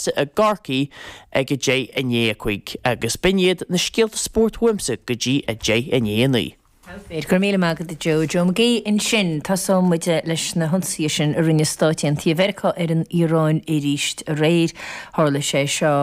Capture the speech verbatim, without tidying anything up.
Fearsa i gCorcaigh ag a deich i ndiaidh a cúig agus b'in iad na scéalta spóirt uaimse go dtí a deich i ndiaidh a naoi. Go raibh míle maith agat a Joe. Joe McGee ansin. Tosóidh muid leis na hionsaithe sin a rinne Stáit Aontaithe Mheiriceá ar an Iaráin arís aréir. Tharla sé seo